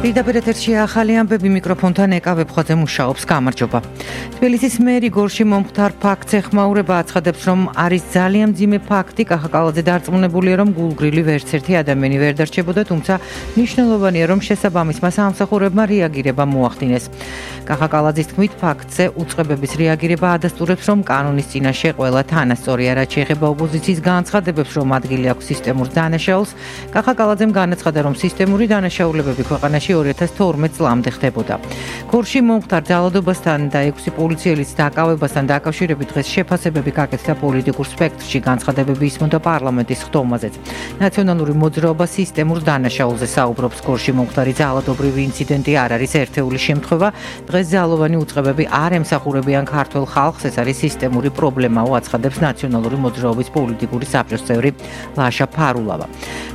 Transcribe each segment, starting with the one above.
პირდაპირ ეთერში ახალი ამბები მიკროფონთან ეკა ვებხვაძე მუშაობს. გამარჯობა. თბილისის მერი გორში მომხდარ ფაქტს ეხმაურება, აცხადებს, რომ არის ძალიან მძიმე ფაქტი. კახაკალაძე დარწმუნებულია, რომ გულგრილი ვერც ერთი ადამიანი ვერ დარჩებოდა, თუმცა მნიშვნელოვანია, რომ შესაბამისმა სამსახურებმა რეაგირება მოახდინეს. კახაკალაძის თქმით, ფაქტზე უწყებების რეაგირება ადასტურებს, რომ კანონის წინაშე ყველა თანასწორია, რაც შეეხება ოპოზიციის განცხადებებს, რომ ადგილი აქვს სისტემურ დანაშაულს. კახაკალაძემ განაცხადა, რომ სისტემური დანაშაულებები ქვეყანაში 2012 წლამდე ხდებოდა. გორში მომხდარ ძალადობასთან და 6 პოლიციელის დაკავებასთან დაკავშირებით დღეს შეფასებები გაკეთდა პოლიტიკურ სპექტრში, განცხადებები ისმოდა პარლამენტის ხდომაზეც. ნაციონალური მოძრაობა სისტემურ დანაშაულზე საუბრობს. გორში მომხდარი ძალადობრივი ინციდენტი არ არის ერთეული შემთხვევა. დღეს ძალოვანი უწყებები არ ემსახურებიან ქართულ ხალხს, ეს არის სისტემური პრობლემაო, აცხადებს ნაციონალური მოძრაობის პოლიტიკური საბჭოს წევრი ლაშა ფარულავა.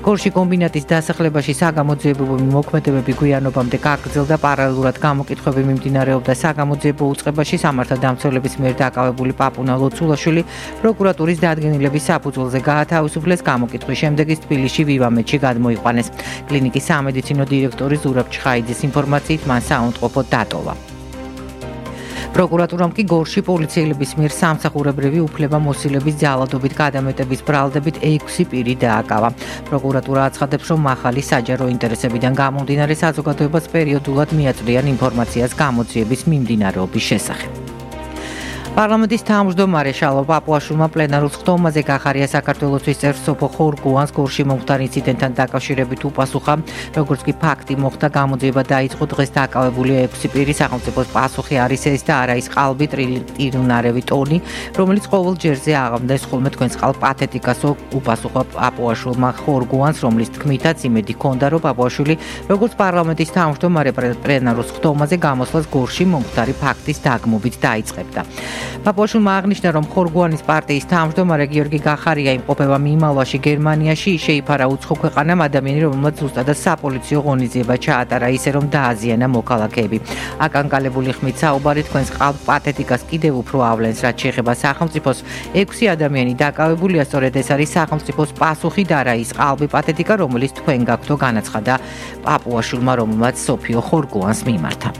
გორში კომბინატის დასახლებაში საგამოძიებო მოქმედებები გვიანობამდე გაგრძელდა, პარალელურად გამოკითხვები მიმდინარეობდა საგამოძიებო უწყებაში. სამართალდამცველების მიერ დაკავებული პაპუნა ლოცულაშვილი პროკურატურის დადგენილების საფუძველზე გაათავისუფლეს. გამოკითხვის შემდეგ ის თბილისში ვივამეთში გადმოიყვანეს. კლინიკის სამედიცინო დირექტორი ზურაბ ჩხაიძის ინფორმაციით მან საუნდყოფო დატოვა. პროკურატურამ კი გორში პოლიციელების მიერ სამსახურებრივი უფლებამოსილების ძალადობით გადამეტების ბრალდებით 6 პირი დააკავა. პროკურატურა აცხადებს, რომ ახალი საჯარო ინტერესებიდან გამომდინარე საზოგადოებას პერიოდულად მიაწვდიან ინფორმაციას გამოძიების მიმდინარეობის შესახებ. პარლამენტის თავმჯდომარე შალვა პაპუაშვილმა პლენარულ ხდომაზე გახარია საქართველოსთვის წევრ სოფო ხორგუანს გორში მომხდარ ინციდენტთან დაკავშირებით უპასუხა. როგორც კი ფაქტი მოხდა, გამოძიება დაიწყო. დღეს დაკავებულია 6 პირი. სახელმწიფოს პასუხი არის ეს და არა ის ყალბი ტრილიონარევი ტონი, რომელიც ყოველ ჯერზე აღამდეს ხოლმე თქვენს ყალ პათეტიკასო, უპასუხა პაპუაშვილმა ხორგუანს, რომლის თქმითაც იმედი ჰქონდა, რომ პაპუაშვილი როგორც პარლამენტის თავმჯდომარე პლენარულ ხდომაზე გამოსვლას გორში მომხდარი ფაქტის დაგმობით დაიწყებდა. პაპუაშვილმა აღნიშნა, რომ ხორგუანის პარტიის თავმჯდომარე გიორგი გახარია იმყოფება მიმალვაში გერმანიაში. შეიფარა უცხო ქვეყანამ ადამიანი, რომელმაც ზუსტადად საპოლიციო ღონისძიება ჩაატარა, ისე რომ დააზიანა მოქალაქეები. აკანკალებული ხმით საუბარი თქვენს ყალბ პათეტიკას კიდევ უფრო ავლენს, რაც შეეხება სახელმწიფოს. 6 ადამიანი დაკავებულია, სწორედ ეს არის სახელმწიფოს პასუხი და არა ის ყალბი პათეტიკა, რომელიც თქვენ გაქვთო, განაცხადა პაპუაშვილმა, რომელმაც სოფიო ხორგუანს მიმართა.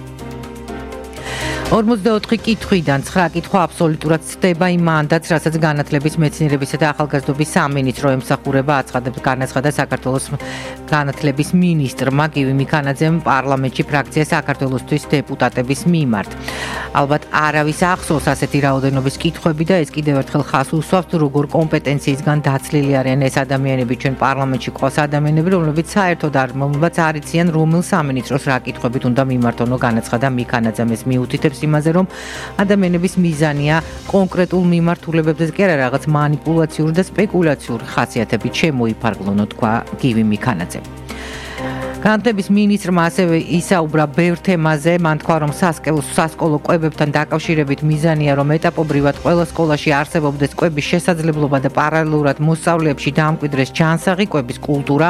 44 კითხვიდან 9 კითხვა აბსოლუტურად ცდება იმ მანდატს, რასაც განათლების, მეცნიერებისა და ახალგაზრდობის სამინისტრო ემსახურება, განაცხადა საქართველოს განათლების მინისტრმა გივი მიქანაძემ პარლამენტში ფრაქცია საქართველოსთვის დეპუტატების მიმართ. ალბათ არავის ახსოვს ასეთი რაოდენობის კითხვები და ეს კიდევ ერთხელ ხაზს უსვამს, როგორ კომპეტენციისგან დაცლილი არიან ეს ადამიანები. ჩვენ პარლამენტში ყავს ადამიანები, რომლებიც საერთოდ არ იციან, რომელ სამინისტროს რა კითხვებით უნდა მიმართონო, განაცხადა მიქანაძემ. ეს მიუთითებს იმაზე, რომ ადამიანების მიზანია კონკრეტულ მიმართულებებზე კი არა რაღაც მანიპულაციური და სპეკულაციური ხასიათებით შემოიფარგლონო, თქვა გივი მიქანაძე. განათლების მინისტრმა ასევე ისაუბრა ბევრ თემაზე. მან თქვა, რომ სასკოლო კვებებთან დაკავშირებით მიზანია, რომ ეტაპობრივად ყველა სკოლაში არსებობდეს კვების შესაძლებლობა და პარალელურად მოსწავლეებში დაამკვიდრეს ჯანსაღი კვების კულტურა.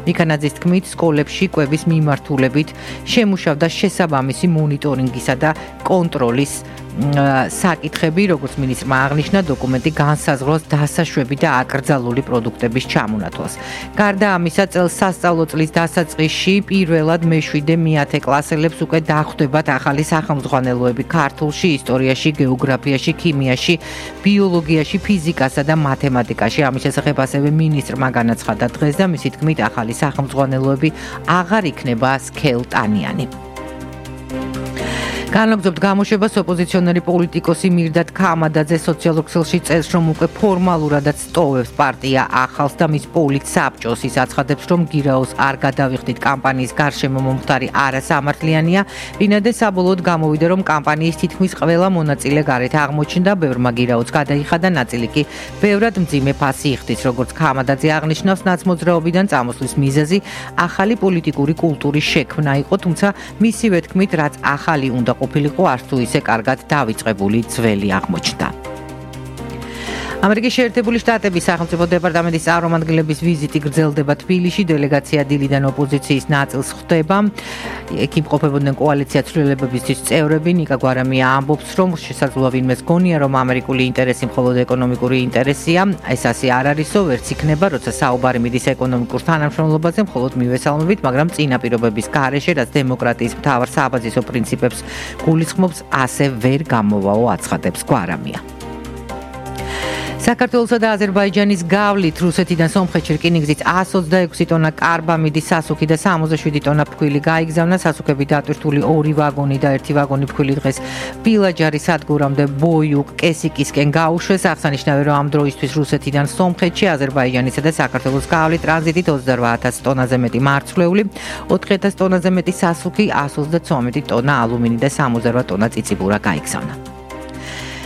მიქანაძის თქმით, სკოლებში კვების მიმართულებით შემუშავდა შესაბამისი მონიტორინგისა და კონტროლის საკითხები, როგორც მინისტრმა აღნიშნა, დოკუმენტი განსაზღვრავს დასაშვები და აკრძალული პროდუქტების ჩამონათვალს. გარდა ამისა, წელს სასწავლო წლის დასაწყისში პირველად მე-7-მე-10 კლასელებს უკვე დახვდებათ ახალი სახელმძღვანელოები ქართულში, ისტორიაში, გეოგრაფიაში, ქიმიაში, ბიოლოგიაში, ფიზიკასა და მათემატიკაში. ამის შესახებ ასევე მინისტრმა განაცხადა დღეს და მისი თქმით, ახალი სახელმძღვანელოები აღარ იქნება სქელტანიანი. განაგრძობთ გამოშვებას ოპოზიციონერი პოლიტიკოსი მირდატ ქამადაძე სოციალურ ქსელში წერს, რომ უკვე ფორმალურადაც სტოვებს პარტია ახალს და მის პოლიტსაბჭოს. ის აცხადებს, რომ გირაოს არ გადავიხდით კამპანიის გარშემო მომხდარი არასამართლიანია. ვინადა საბოლოოდ გამოვიდა, რომ კამპანიის თითქმის ყველა მონაწილე გარეთ აღმოჩნდა, ბევრმა გირაოც გადაიხადა, ნაწილი კი ბევრად მძიმე ფასი იხდის. როგორც ქამადაძე აღნიშნავს, ნაცმოძრაობიდან წამოსვლის მიზეზი ახალი პოლიტიკური კულტურის შექმნა იყო, თუმცა მისივე თქმით, რაც ახალი უნდა ყოფილიყო, არც თუ ისე კარგად დავიწყებული ძველი აღმოჩნდა. ამერიკის შეერთებული შტატების სახელმწიფო დეპარტამენტის წარმომადგენლების ვიზიტი გრძელდება თბილისში. დელეგაცია დილიდან ოპოზიციის ნაწილს ხვდება. იქ იმყოფებოდნენ კოალიცია ცვლილებებისთვის წევრები. ნიკა გვარამია ამბობს, რომ შესაძლოა ვინმეს გონია, რომ ამერიკული ინტერესი მხოლოდ ეკონომიკური ინტერესია. ეს ასე არ არისო, ვერც იქნება, როცა საუბარი მიდის ეკონომიკურ თანამშრომლობაზე, მხოლოდ მივესალმებით, მაგრამ წინა პირობების გარეშე, რაც დემოკრატიის მთავარ საბაზისო პრინციპებს გულისხმობს, ასე ვერ გამოვაო, აცხადებს გვარამია. საქართველოსა და აზერბაიჯანის გავლით რუსეთიდან სომხეთში რკინიგზით 126 ტონა კარბამიდი სასუქი და 67 ტონა ფქვილი გაიგზავნა. სასუქები დატვირთული 2 ვაგონი და 1 ვაგონი ფქვილი დღეს პილაჯარის სადგურამდე ბოიუკ კესიკისკენ გაუშვეს. აღსანიშნავია, რომ ამ დროისთვის რუსეთიდან სომხეთში აზერბაიჯანისა და საქართველოს გავლით ტრანზიტით 28000 ტონაზე მეტი მარცვლეული, 4000 ტონაზე მეტი სასუქი, 139 ტონა ალუმინი და 68 ტონა წიწიბურა გაიგზავნა.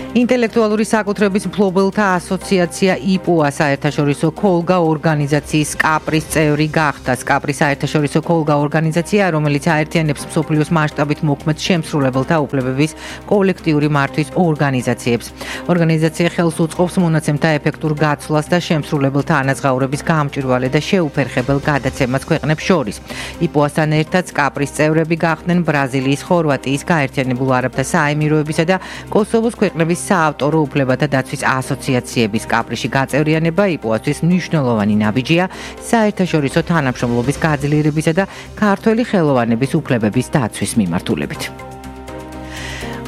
ინტელექტუალური საკუთრების მფლობელთა ასოციაცია იპუა საერთაშორისო ქოლგა ორგანიზაციის სკაპრის წევრი გახდა. სკაპრი საერთაშორისო ქოლგა ორგანიზაცია, რომელიც აერთიანებს მსოფლიოს მასშტაბით მოქმედ შემსრულებელთა უფლებების კოლექტიური მართვის ორგანიზაციებს. ორგანიზაცია ხელს უწყობს მონაცემთა ეფექტურ გაცვლას და შემსრულებელთა ანაზღაურების გამჭვირვალე და შეუფერხებელ გადაცემას ქვეყნებს შორის. იპუასთან ერთად სკაპრის წევრები გახდნენ ბრაზილიის, ხორვატიის, გაერთიანებულ არაბთა საემიროებისა და კოსოვოს ქვეყნების საავტორო უფლებათა დაცვის ასოციაციების. სკაპრიში გაწევრიანება იპუასთვის მნიშვნელოვანი ნაბიჯია საერთაშორისო თანამშრომლობის გაძლიერებისა და ქართველი ხელოვანების უფლებების დაცვის მიმართულებით.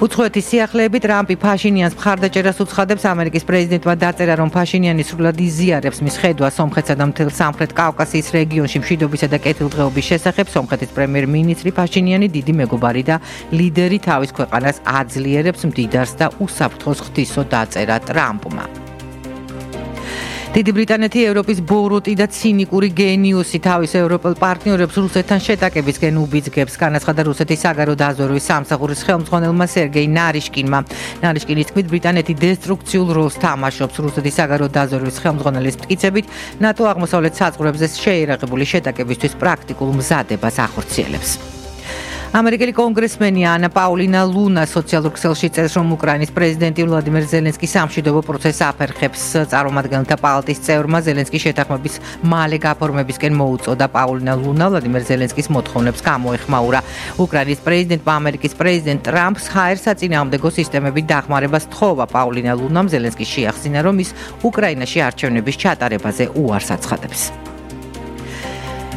უცხოეთის სიახლეები ტრამპი ფაშინიანს მხარდაჭერას უცხადებს. ამერიკის პრეზიდენტმა დაწერა, რომ ფაშინიანი სრულად იზიარებს მის ხედვას სომხეთსა და მთელ სამხრეთ კავკასიის რეგიონში მშვიდობისა და კეთილდღეობის შესახებ. სომხეთის პრემიერ-მინისტრი ფაშინიანი, დიდი მეგობარი და ლიდერი, თავის ქვეყანას აძლიერებს მდიდარს და უსაფრთხოს ღვთისო, დაწერა ტრამპმა. დიდი ბრიტანეთი ევროპის ბოროტი და ცინიკური გენიუსი თავის ევროპელ პარტნიორებს რუსეთთან შეტაკებისკენ უბიძგებს. განაცხადა რუსეთის საგარეო დაზვერვის სამსახურის ხელმძღვანელმა სერგეი ნარიშკინმა. ნარიშკინის თქმით, ბრიტანეთი დესტრუქციულ როლს თამაშობს. რუსეთის საგარეო დაზვერვის ხელმძღვანელის მტკიცებით, ნატო აღმოსავლეთ საზღვრებზე შეიარაღებული შეტაკებისთვის პრაქტიკულ მზადებას ახორციელებს. ამერიკელი კონგრესმენი ანა პაულინა ლუნა სოციალურ ქსელში წერს, რომ უკრაინის პრეზიდენტი ვლადიმერ ზელენსკის სამშვიდობო პროცესს აფერხებს. წარმომადგენელთა პალატის წევრმა ზელენსკის შეთანხმების მალე გაფორმებისკენ მოუწოდა. პაულინა ლუნა ვლადიმერ ზელენსკის მოთხოვნებს გამოეხმაურა. უკრაინის პრეზიდენტმა ამერიკის პრეზიდენტ ტრამპს ჰაერ-საწინააღმდეგო სისტემებით დახმარებას თხოვა. პაულინა ლუნამ ზელენსკის შეახსინა, რომ ის უკრაინაში არჩევნების ჩატარებაზე უარს აცხადებს.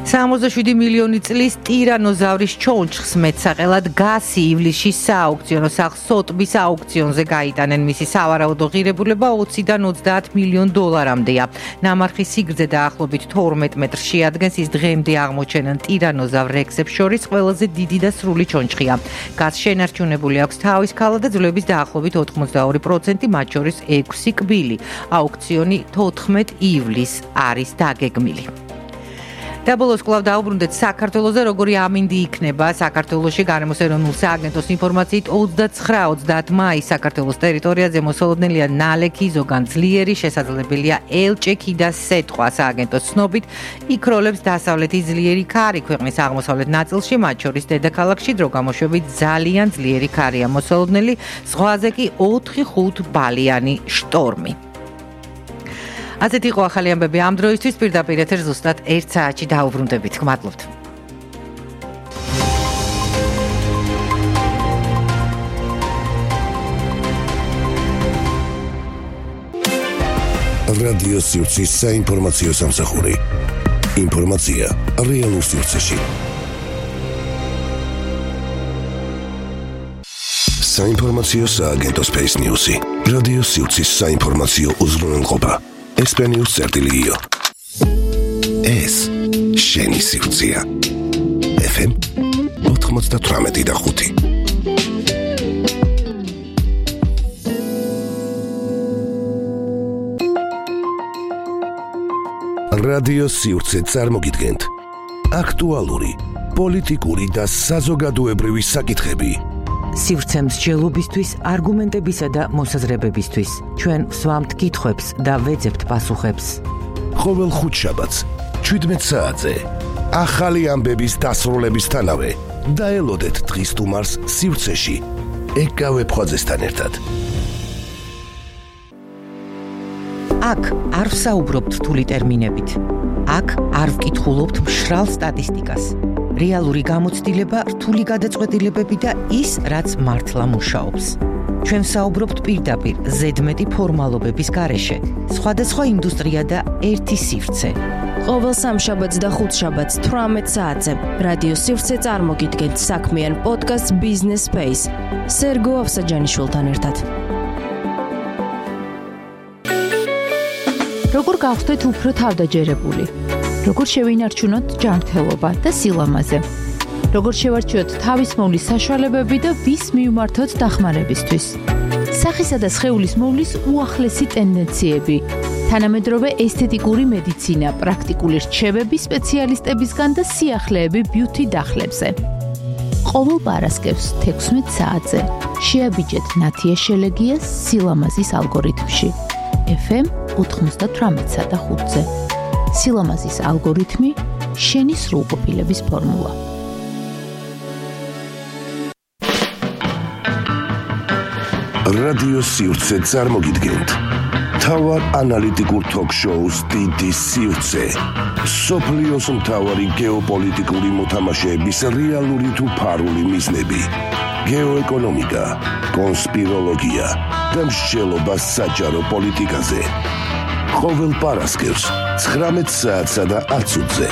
67 მილიონი წლის ტირანოზავრის ჩონჩხს მეტსაყელად გასი ივლისში სააუქციონო სახლ სოტბის აუქციონზე გაიტანენ. მისი სავარაუდო ღირებულება 20-დან 30 მილიონ დოლარამდეა. ნამარხი სიგრძე დაახლოებით 12 მეტრს შეადგენს. ის დღემდე აღმოჩენილ ტირანოზავრ რექსებს შორის ყველაზე დიდი და სრული ჩონჩხია. გასს შენარჩუნებული აქვს თავის ქალა და ძვლების დაახლოებით 82%, მათ შორის 6 კბილი. აუქციონი 14 ივლისს არის დაგეგმილი. და ბოლოს კვლავ დაუბრუნდეთ საქართველოზე, როგორი ამინდი იქნება. საქართველოში გარემოს ეროვნულ სააგენტოს ინფორმაციით 29-30 მაისს საქართველოს ტერიტორიაზე მოსალოდნელია ნალექი, ზოგან ძლიერი, შესაძლებელია ელჭექი და სეტყვა. სააგენტოს ცნობით, იქ როლებს დასავლეთის ძლიერი ქარი ქვეყნის აღმოსავლეთ ნაწილში, მათ შორის დედაქალაქში დრო გამოშვებით ძალიან ძლიერი ქარია მოსალოდნელი, ზღვაზე კი 4-5 ბალიანი შტორმი. ასეთი იყო ახალი ამბები ამ დროისთვის. პირდაპირ ეთერ ზუსტად 1 საათში დაუბრუნდებით. გმადლობთ. რადიო სივრცის საინფორმაციო სამსახური. ინფორმაცია რეალურ სივრცეში. საინფორმაციო სააგენტოს Space News-ი. რადიო სივრცის საინფორმაციო უზრუნველყოფა. ესპანიურ წერტილიო. ეს შენი სივრცეა. FM 98.5. რადიო სივრცე წარმოგიდგენთ აქტუალური, პოლიტიკური და საზოგადოებრივი საკითხები. სივრცემ მსჯელობისთვის, არგუმენტებისა და მოსაზრებებისთვის. ჩვენ ვსვამთ კითხვებს და ვეძებთ პასუხებს. ყოველ ხუთშაბათს 17 საათზე ახალი ამბების დასრულებისთანავე დაელოდეთ დღის სტუმარს სივრცეში ეკავე ფხაძესთან ერთად. აქ არ ვსაუბრობთ რთული ტერმინებით. აქ არ ვკითხულობთ მშრალ სტატისტიკას. რეალური გამოცდილება, რთული გადაწყვეტილებები და ის, რაც მართლა მუშაობს. ჩვენ ვსაუბრობთ პირდაპირ, ზედმეტი ფორმალობების გარეშე. სხვადასხვა ინდუსტრია და ერთი სივრცე. ყოველ სამშაბათს და ხუთშაბათს 18 საათზე რადიო სივრცე წარმოგიდგენთ საქმიან პოდკასტს Business Space. სერგო ავსაჯანიშვილთან ერთად. როგორ გავხდეთ უფრო თავდაჯერებული? როგორ შევინარჩუნოთ ჯანმრთელობა და სილამაზე? როგორ შევარჩიოთ თავის მოვლის საშუალებები და ვის მივმართოთ დახმარებისთვის? სახისა და სხეულის მოვლის უახლესი ტენდენციები, თანამედროვე ესთეტიკური მედიცინა, პრაქტიკული რჩევები სპეციალისტებისგან და სიახლეები ბიუთი დახლებზე. ყოველ პარასკევს 16 საათზე შეაბიჯეთ ნათია შელეგიას სილამაზის ალგორითმში. FM 98.5-ზე. სილამაზის ალგორითმი, შენი სრულყოფილების ფორმულა. რადიო სივრცე წარმოგიდგენთ თავარ ანალიტიკურ ток-შოუს დიდი სივრცე. სოფლიოს მთავარი გეოპოლიტიკური მოთამაშეების რეალური თუ ფარული მიზნები, გეოეკონომიკა, კონსპიროლოგია და მსჯელობა საჯარო პოლიტიკაზე. ყოველ პარასკევს 19 საათსა და 10 წუთზე.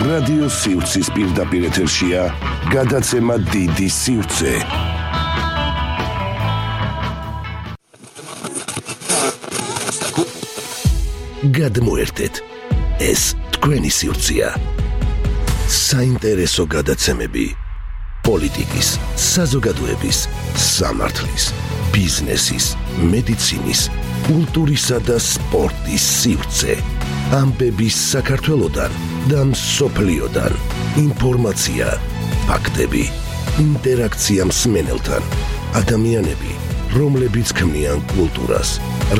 რადიო სივრცის პირდაპირ ეთერშია გადაცემა დიდი სივრცე. გადმოერთეთ, ეს თქვენი სივრცეა. საინტერესო გადაცემები პოლიტიკის, საზოგადოების, სამართლის, ბიზნესის, მედიცინის, კულტურისა და სპორტის სივრცე. ამბები საქართველოდან და მსოფლიოდან. ინფორმაცია, ფაქტები, ინტერაქცია მსმენელთან. ადამიანები, რომლებიც ქმნიან კულტურას.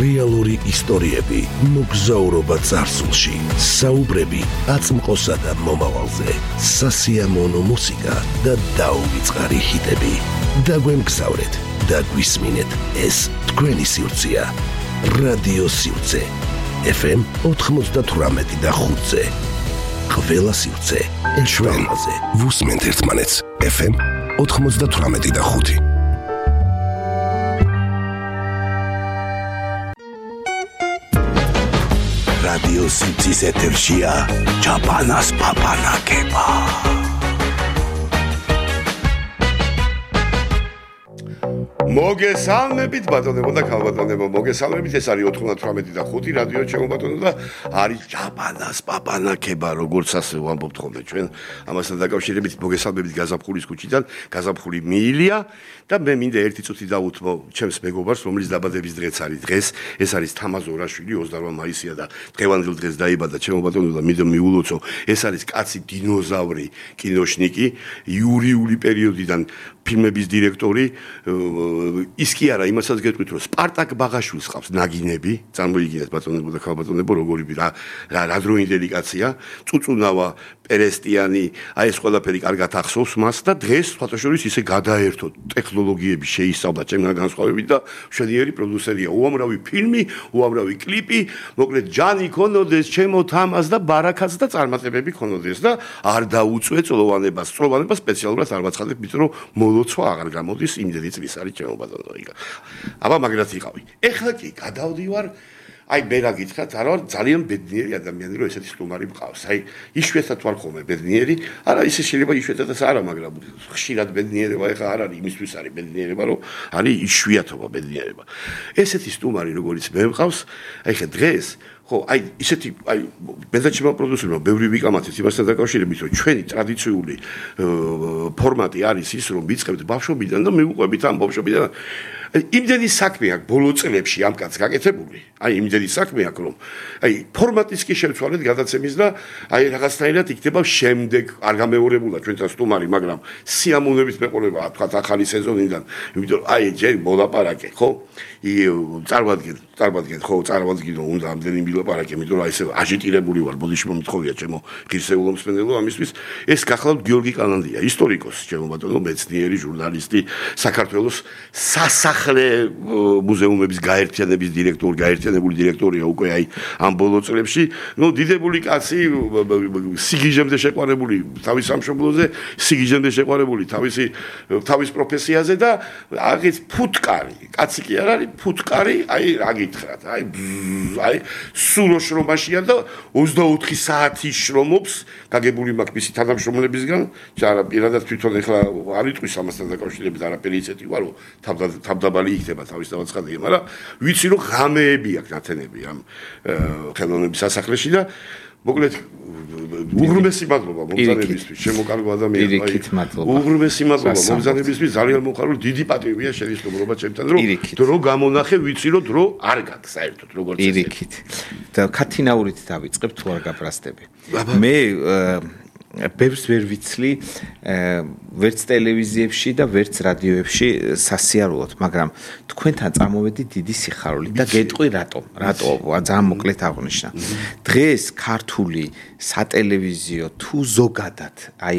რეალური ისტორიები, მოგზაურობა წარსულში, საუბრები აწმყოსა და მომავალზე, სასიამოვნო მუსიკა და დაუვიწყარი ჰიტები. დაგვემგზავრეთ და გვისმინეთ, ეს თქვენი სივრცეა. რადიო სივრცე. FM 98.5-ზე. ყველა სივრცე ჩვენაზე. ვუსმენთ ერთმანეთს. FM 98.5. რადიო სივრცის ეთერშია ჩაპანას პაპანაკება. მოგესალმებით ბატონებო და ქალბატონებო, მოგესალმებით. ეს არის 98.5 რადიო ჩემო ბატონო და არის ჩაპანას პაპანაკება, როგორც ასე ვამბობთ ხოლმე ჩვენ. ამასთან დაკავშირებით მოგესალმებით გაზაფხულის ქუჩიდან, გაზაფხული მიილია და მე მინდა ერთი წუთი დავუთმო ჩემს მეგობარს, რომლის დაბადების დღეც არის დღეს. ეს არის თამაზ ორაშვილი, 28 მაისია და დღევანდელ დღეს დაიბადა ჩემო ბატონო და მინდა მიულოცო. ეს არის კაცი დინოზავრი, კინოშნიკი, იურიული პერიოდიდან ფილმების დირექტორი. ის კი არა, იმასაც გეტყვით, რომ სპარტაკ ბაღაშვილს ყავს ნაგინები, წარმოიგინეთ ბატონებო და ქალბატონებო, როგორი რა დროინდელი კაცია, წუწუნავა, პერესტიანი, აი ეს ყველაფერი კარგად ახსოვს მას და დღეს სხვათაშორის ისე გადაერთო ტექნოლოგიები შეისწავლა ჩემგან განსხვავებით და მშვენიერი პროდიუსერია. უამრავი ფილმი, უამრავი კლიპი, მოკლედ ჯანი ქონოდეს, ჩემო თამას და ბარაკაც და წარმატებები ქონოდეს და არ დაუწვე წლოვანებას სპეციალურად არ ვაცხადებ, იმიტომ რომ მოლოცვა აღარ გამოდის იმდენი წლის არის ჩემო ბატონო. აბა მაგრად იყავი. ეხლა კი გადავდივარ. აი მე რა გითხრათ, არა ვარ ძალიან ბედნიერი ადამიანი, რომ ესეთი სტუმარი მყავს. აი იშვიათად ვარ ხოლმე ბედნიერი. არა ისე შეიძლება იშვიათადაც არა, მაგრამ ხშირად ბედნიერება ეხლა არ არის, იმისთვის არის ბედნიერება, რომ არის იშვიათობა ბედნიერება. ესეთი სტუმარი როგორც მე მყავს, აი ხა დღეს ხო, აი ისეთი აი მედაჩება პროდიუსერმა ბევრი ვიკამათეთ იმასთან დაკავშირებით, რომ ჩვენი ტრადიციული ფორმატი არის ის, რომ ვიწყებთ ბავშვობიდან და მივუყვებით ამ ბავშვობიდან. იმდენი საქმე აქვს ბოლო წლებში ამ კაცს გაკეთებული. აი იმდენი საქმე აქვს, რომ აი ფორმატის კი შევცვალეთ გადაცემის და აი რაღაცნაირად იქნება შემდეგ არ გამეორებულა ჩვენთან სტუმარი, მაგრამ სიამოვნებით მეყოლება თქვა ახალი სეზონიდან, იმიტომ რომ აი ჯერ მოლაპარაკე, ხო? წარმოადგენ წარმოგიდგენთ, ხო, წარმოგიდგინო უნდა ამდენი მილაპარაკე, იმიტომ რომ აი ესე აჟიტირებული ვარ, ბოდიში მომთხოვია ჩემო ღირსეულო მსმენელო ამისთვის. ეს გახლავთ გიორგი კანანდია, ისტორიკოსი, ჩემო ბატონო, მეცნიერი, ჟურნალისტი, საქართველოს სასახლე მუზეუმების გაერთიანების გაერთიანებული დირექტორია უკვე აი ამ ბოლო წლებში. ნუ დიდებული კაცი, სიგიჟემდე შეყვარებული თავის სამშობლოზე, სიგიჟემდე შეყვარებული თავის პროფესიაზე და აგეთ ფუტკარი, კაცი კი არ არის, ფუტკარი, აი რა გითხრათ, აი სულო შრომაშია და 24 საათი შრომობს, გაგებული მაქვს მისი თანამშრომლებისგან, არა პირადად თვითონ ეხლა არ იტყვის ამასთან დაკავშირებით არაფერი ისეთი ვარ, რომ თავდაბალი იქნება თავის დავაცხადია, მაგრამ ვიცი რომ ღამეები აქვს ნათენები ამ ხელოვნების სასახლეში და მოკლედ უღრმესი მადლობა მომზადებისთვის, შემოკარგო ადამიანებისთვის. უღრმესი მადლობა მომზადებისთვის, ძალიან მოხარული, დიდი პატივია შენი სტუმრობა ჩემთან, რომ დრო გამონახე, ვიცი რომ დრო არ გაქვს საერთოდ როგორც ეს. ირიქით. და ქათინაურით დავიწყებ თუ არ გაბრასდები. მე ბევრს ვერ ვიცლი ვერც ტელევიზიებში და ვერც რადიოებში სასიარულოდ, მაგრამ თქვენთან წამოვედი დიდი სიხარული და გეტყვი რატომ ძალიან მოკლედ აღვნიშნა. დღეს ქართული სატელევიზიო თუ ზოგადად აი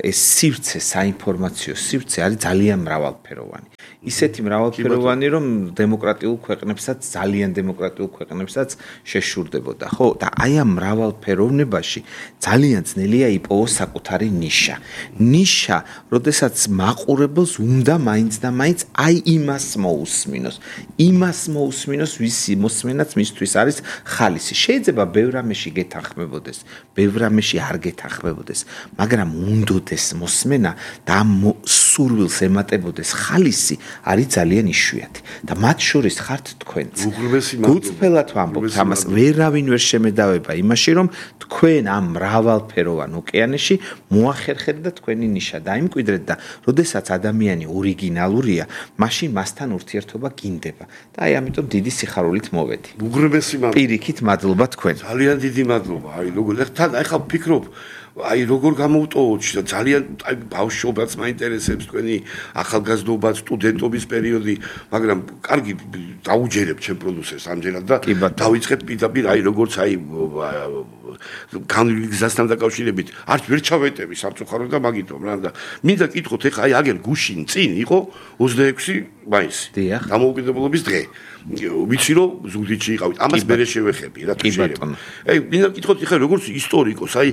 ეს სივრცე, საინფორმაციო სივრცე არის ძალიან მრავალფეროვანი. ისეთი მრავალფეროვანი, რომ დემოკრატიულ ქვეყნებსაც, ძალიან დემოკრატიულ ქვეყნებსაც შეშურდებოდა, ხო? და აი ამ მრავალფეროვნებაში ძალიან ძნელია იპოვოს საკუთარი ნიშა. ნიშა, როდესაც მაყურებელს უნდა მაინც და მაინც აი იმას მოусმინოს. იმას მოусმინოს, ვისი მოსმენაც მისთვის არის ხალისი. შეიძლება ბევრ რამეში გეთანხმებოდეს, ბევრ რამეში არ გეთანხმებოდეს, მაგრამ უნდოდეს მოსმენა და ამ სურვილს ემატებოდეს ხალისი არის ძალიან იშვიათი და მათ შორის ხართ თქვენც. გუწფელად ვამბობთ ამას, ვერავინ ვერ შემედავება იმაში, რომ თქვენ ამ მრავალფეროვან ოკეანეში მოახერხეთ და თქვენი ნიშა დაიმკვიდრეთ და როდესაც ადამიანი ორიგინალურია, მაშინ მასთან ურთიერთობა გინდება. და აი ამიტომ დიდი სიხარულით მოვედი. უღრმესი მადლობა. პირიქით მადლობა თქვენ. ძალიან დიდი მადლობა. აი როგორ ეხლა ვფიქრობ აი როგორ გამოვტოვოთ და ძალიან აი ბავშვობაც მაინტერესებს თქვენი ახალგაზრდობაც, სტუდენტობის პერიოდი, მაგრამ კარგი დაუჯერებ ჩემ პროდიუსერს ამჯერად და დავიწყებ პირდაპირ აი როგორც აი განვლილი გზასთან დაკავშირებით არც ვერ ჩავეტევი სამწუხაროდ და მაგიტომ რა და მინდა კითხოთ ეხლა აი აგერ გუშინ წინ იყო 26 მაისი დამოუკიდებლობის დღე ვიცი რომ ზუგდიდში იყავით ამას მერე შევეხები რა თუ შეიძლება აი მინდა კითხოთ ეხლა როგორც ისტორიკოს აი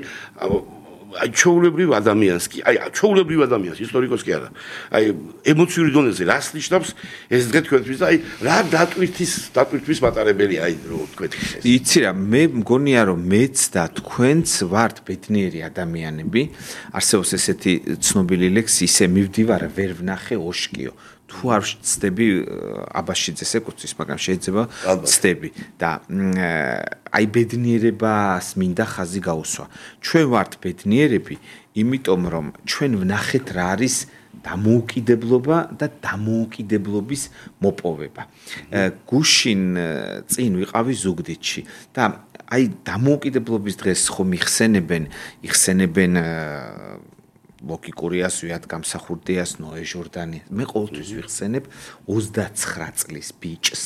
ჩვეულებრივ ადამიანს კი აი ჩვეულებრივ ადამიანს ისტორიკოს კი არა აი ემოციური დონეზე რას ნიშნავს ეს დღე თქვენთვის და აი რა დატვირთვის მატარებელია აი რო თქვენ ეს იცი რა მე მგონია რომ მეც და თქვენც ვართ ბედნიერი ადამიანები არსებობს ესეთი ცნობილი ლექსი ისე მივდივარ ვერ ვნახე ოშკიო თუ არ ვწდები აბაშიძეს ეკუთვნის, მაგრამ შეიძლება ვწდები და აი ბედნიერებას მინდა ხაზი გაუსვა. ჩვენ ვართ ბედნიერები, იმიტომ რომ ჩვენ ვნახეთ რა არის დამოუკიდებლობა და დამოუკიდებლობის მოპოვება. გუშინ წინ ვიყავი ზუგდიდში და აი დამოუკიდებლობის დღეს ხომ იხსენებენ ლოკი კურიას, ვიად გამსახურდიას, ნოე ჟორდანი. მე ყოველთვის ვიხსენებ 29 წლის ბიჭს.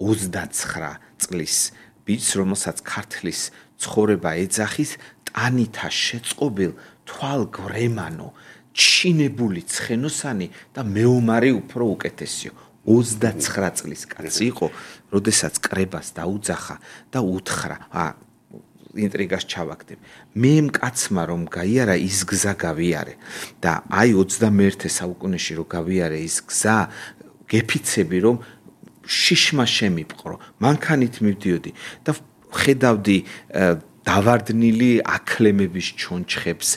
29 წლის ბიჭს, რომელსაც ქართლის ცხოვრება ეძახის, ტანითა შეწყობილ, თვალგვრემანო, ჩინებული ცხენოსანი და მეომარი უფრო უკეთესიო. 29 წლის კაცი იყო, როდესაც კრებას დაუძახა და უთხრა, ინტრიგას ჩავაგდებ. მე მკაცმა რომ გაიარა ის გზა გავიარე და აი 21 საუკუნეში რომ გავიარე ის გზა გეფიცები რომ შიშმა შემიპყრო მანქანით მივდიოდი და ხედავდი დავარდნილი აკლემების ჩონჩხებს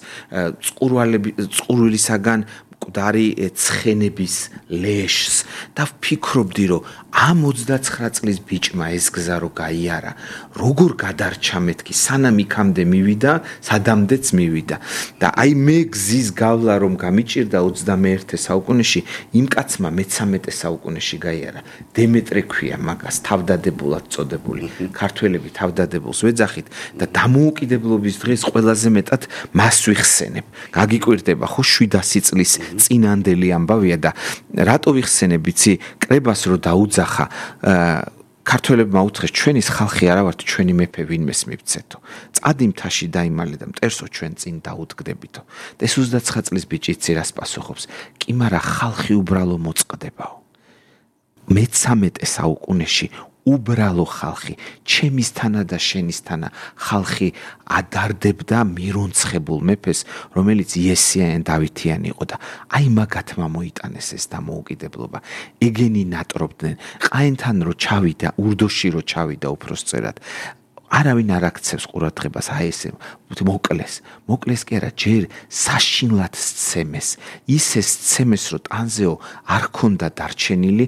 წყურვილისაგან მკვდარი ცხენების ლეშს და ვფიქრობდი რომ ამ 29 წლის ბიჭმა ეს გზა რო გაიარა როგორ გადარჩა მეთქი სანამ იქამდე მივიდა სადამდეც მივიდა და აი მე გზის გავლა რომ გამიჭირდა 21 საუკუნეში იმ კაცმა მე-13 საუკუნეში გაიარა დემეტრე ქვია მაგას თავდადებულად წოდებული ქართველები თავდადებულს ვეძახით და დამოუკიდებლობის დღეს ყველაზე მეტად მას ვიხსენებ გაგიკვირდება ხო 700 წლის წინანდელი ამბავია და რატო ვიხსენებ იცი კრებას რო დაუძახა ქართველებმა უთხრეს ჩვენის ხალხი არა ვართ ჩვენი მეფე ვინმეს მივცეთო წადი მთაში დაიმალე და მტერსო ჩვენ წინ დაუდგდებითო და ეს 29 წლის ბიჭი იცი რას პასუხობს კი მარა ხალხი უბრალო მოწყდებაო მე-13 საუკუნეში უბრალო ხალხი ჩემისთანა და შენისთანა ხალხი ადარდებდა მირონცხებულ მეფეს რომელიც იესიან დავითიანი იყო და აი მაგათმა მოიტანეს ეს დამოუკიდებლობა ეგენი ნატრობდნენ ყაენთან რო ჩავიდა ურდოში რო ჩავიდა უფროსწერად არავინ არ აქცევს ყურადღებას აი ესე მოკლეს კი არა ჯერ საშინლად სცემეს ისე სცემეს რომ ტანზეო არ ქონდა დარჩენილი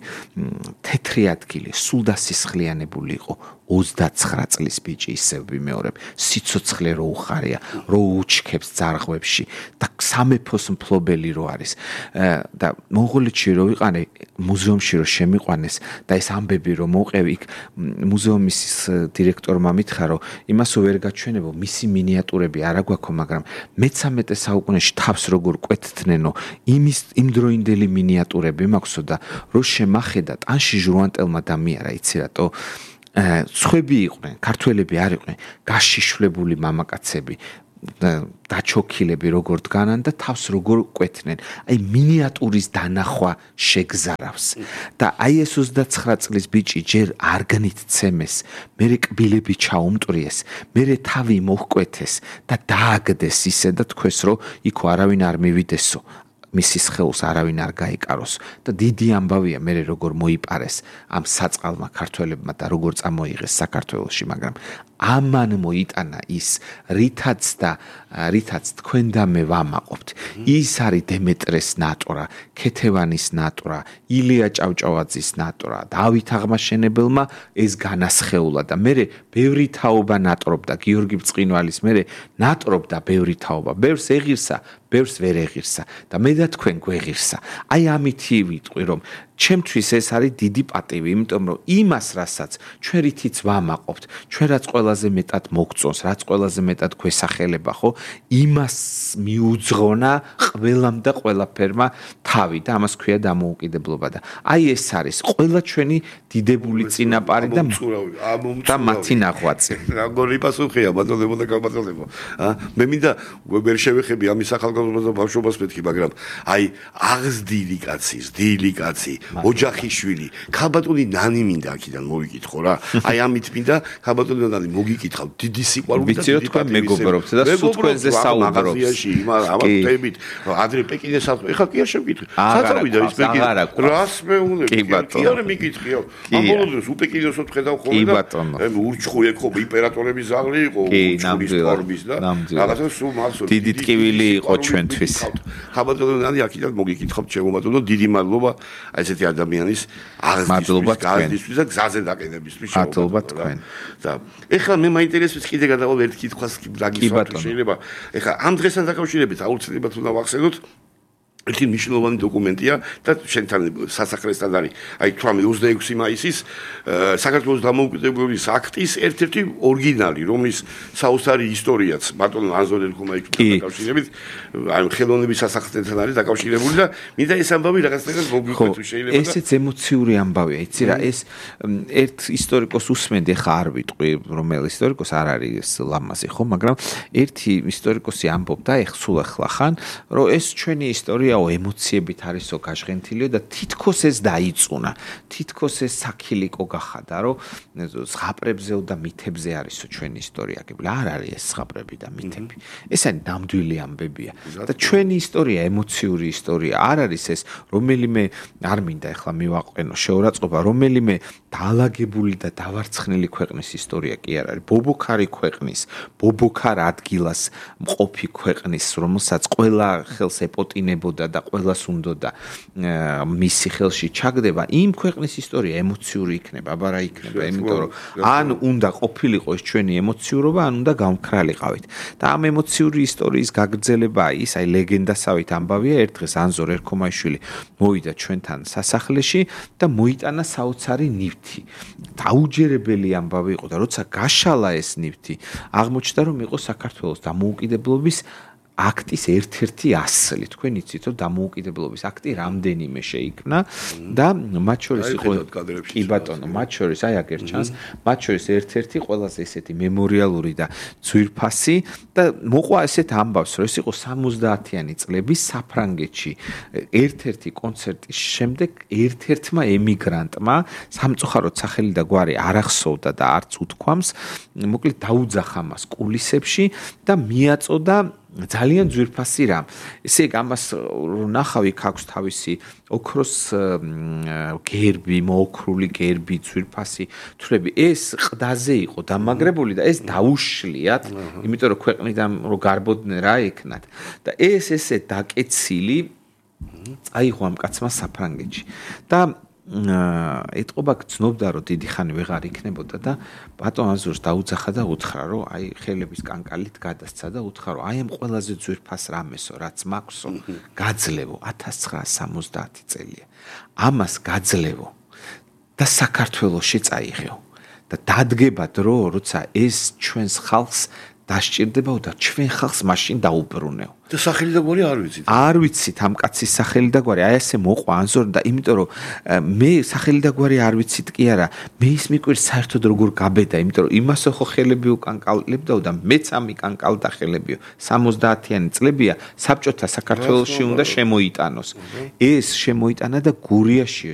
თეთრი ადგილი სულ დასისხლიანებული იყო 29 წლის ბიჭი ისევ ვიმეორებ სიცოცხლე რო უხარია რო უჩქებს ძარღვებში და სამეფოს მფლობელი რო არის და მონღოლეთში რო ვიყანე მუზეუმში რო შემიყვანეს და ეს ამბები რო მოყევი იქ მუზეუმის დირექტორმა მითხრა რომ იმასო ვერ გაჩვენებო მისი მინიატურები არა გვაქვს მაგრამ მე-13 საუკუნეში თავს როგორ კვეთთნენო იმ დროინდელი მინიატურები მაქვსო და რო შემახედა ტანში ჟუანტელმა დამიარა იცი რატო ცხები იყვნენ ქართველები არ იყვნენ გაშიშვლებული მამაკაცები დაჩოქილები როგორ დგანან და თავს როგორ კვეთნენ აი მინიატურის დანახვა შეგზარავს და აი ეს 29 წლის ბიჭი ჯერ არგნით ცემეს მერე კბილები ჩაუმტვრიეს მერე თავი მოჰკვეთეს და დააგდეს ისე და თქვეს რომ იქო არავინ არ მივიდესო მისის ხელს არავინ არ გაიკაროს და დიდი ამბავია მე როგორ მოიპარეს ამ საწყალმა ქართველებმა და როგორ წამოიღეს საქართველოში მაგრამ ამან მოიტანა ის რითაც თქვენ და მე ვამაყობთ ის არის დემეტრეს ნატრა ქეთევანის ნატრა ილია ჭავჭავაძის ნატრა დავით აღმაშენებელმა ეს განასხეულა და მე ბევრი თაობა ნატრობდა გიორგი ბრწყინვალის მე ნატრობდა ბევრი თაობა ბევრს ეღირსა ბევრს ვერ ეღირსა და მე და თქვენ გვეღირსა აი ამითი ვიტყვი რომ ჩემთვის ეს არის დიდი პატივი იმიტომ რომ იმას რასაც ჩვენ რითიც ვამაყობთ ჩვენ რაც ყველაზე მეტად მოგწონს რაც ყველაზე მეტად გვესახელება ხო იმას მიუძღონა ყველამ და ყველაფერმა თავი და ამას ქვია დამოუკიდებლობა და აი ეს არის ყველა ჩვენი დიდებული წინაპარი და მათი ნახვაწი როგორი პასუხია ბატონებო და გაბატონებო მე მინდა ვერ შევეხები ამის ახალგაზრდობას და ბავშვობას მეთქი მაგრამ აი აღზრდილი კაცი ოჯახიშვილი ქალბატონი ნანი მინდა აქედან მოვიკითხო რა აი ამით მინდა ქალბატონი ნანი მოგიკითხავ დიდი სიყვარული და დიდი პატივი მეგობრობთ და სულ თქვენზე საუბრობთ ამათებით ადრე პეკინე საქმე ეხლა კი არ შევკითხე საწავიდა ის პეკინე რას მეუნები კი არ მიკითხიო ამბოლოდეს უპეკინეს ვხედავ ხოლმე და ურჩხუ ეკო იმპერატორების ზაღლი იყო ურჩხულის ფორმის და რაღაცა სულ მასო დიდი ტკივილი იყო ჩვენთვის ქალბატონი ნანი აქედან მოგიკითხავ ჩემო ბატონო დიდი მადლობა აი ესეთი ადამიანის აღზრდისთვის და გზაზე დაყენებისთვის მადლობა თქვენ და ეხლა მე მაინტერესებს კიდე გადავალ ერთ კითხვას გაგისვათ შეიძლება ეხლა ამ დღესთან დაკავშირებით აუცილებლად უნდა ვახსენოთ ერთი მნიშვნელოვანი დოკუმენტია და შენთან სასახლესთან არის აი 26 მაისის საქართველოს დამოუკიდებლობის აქტის ერთ-ერთი ორიგინალი რომლის საოცარი ისტორიაც ბატონ ანზორ ერქომაიშვილთან დაკავშირებით აი ხელოვნების სასახლესთან არის დაკავშირებული და მინდა ეს ამბავი რაღაცნაირად მოგიყვეთ შეიძლება და ესეც ემოციური ამბავია იცი რა ეს ერთ ისტორიკოს უსმენდი ხა არ ვიტყვი რომელი ისტორიკოს არ არის ლამაზი ხო მაგრამ ერთი ისტორიკოსი ამბობდა სულ ახლა ხან რომ ეს ჩვენი ისტორია ემოციებით არისო გაჟღენთილიო და თითქოს ეს დაიწუნა თითქოს ეს საქილიკო გახადა რომ ზღაპრებზე და მითებზე არისო ჩვენი ისტორია გებლა არ არის ეს ზღაპრები და მითები ეს არის ნამდვილი ამბებია და ჩვენი ისტორია ემოციური ისტორია არ არის ეს რომელიმე არ მინდა ეხლა მივაყენო შეურაცხყოფა რომელიმე დაალაგებული და დავარცხნილი ქვეყნის ისტორია კი არ არის ბობოქარი ქვეყნის ბობოქარ ადგილას მყოფი ქვეყნის რომელსაც ყველა ხელს ეპოტინებოდა და ყველას უნდოდა მისი ხელში ჩაგდება იმ ქვეყნის ისტორია ემოციური იქნება აბა რა იქნება იმიტომ რომ ან უნდა ყოფილიყო ეს ჩვენი ემოციურობა ან უნდა გამქრალიყავით და ამ ემოციური ისტორიის გაგრძელება ის აი ლეგენდასავით ამბავია ერთ დღეს ანზორ ერქომაიშვილი მოვიდა ჩვენთან სასახლეში და მოიტანა საოცარი ნივთი დაუჯერებელი ამბავი იყო და როცა გაშალა ეს ნივთი აღმოჩნდა რომ იყო საქართველოს დამოუკიდებლობის აქტის ერთ-ერთი ასლი. თქვენ იცით, რომ დამოუკიდებლობის აქტი რამდენიმე შეიქმნა და მათ შორის იყო კი ბატონო, მათ შორის აი აქ ერჩანს, მათ შორის ერთ-ერთი ყველაზე ესეთი მემორიალური და ძვირფასი და მოყვა ესეთ ამბავს, რომ ეს იყო 70-იანი წლების საფრანგეთში ერთ-ერთი კონცერტის შემდეგ ერთ-ერთმა ემიგრანტმა სამწუხაროდ სახელი და გვარი არ ახსოვდა და არც უთქვამს, მოკლედ დაუძახა მას კულისებში და მიაწოდა ძალიან ძვირფასი რამ. ესე იგი ამას რო ნახავ იქ აქვს თავისი ოქროს გერბი, მოოქრული გერბი, ძვირფასი თვლები. ეს ყდაზე იყო დამაგრებული და ეს დაუშლიათ, იმიტომ რომ ქვეყნიდან რო გარბოდნენ რა ეკნათ. და ეს ესე დაკეცილი აიღო ამ კაცმა საფრანგეთში. და ეთყობა გძნობდა რომ დიდი ხანი ვეღარ იქნებოდა და ბატონ აზურს დაუძახა და უთხრა რომ აი ხელების კანკალით გადასცა და უთხრა რომ აი ამ ყველაზე ძვირფას რამესო რაც მაქვსო გაძლევო 1970 წელია ამას გაძლევო და საქართველოში წაიღეო და დადგება დრო როცა ეს ჩვენს ხალხს დასჭირდებაო და ჩვენ ხალხს მაშინ დაუბრუნეო. და სახელი და გვარი არ ვიცით. არ ვიცით ამ კაცის სახელი და გვარი, აი ესე მოყვა ანზორ და იმიტომ რომ მე სახელი და გვარი არ ვიცით კი არა, მე ის მიკვირს საერთოდ როგორ გაბედა, იმიტომ რომ იმასო ხო ხელები უკანკალებდაო და მეც ამი კანკალდა ხელებიო. 70-იანი წლებია საბჭოთა საქართველოში უნდა შემოიტანოს. ეს შემოიტანა და გურიაშიო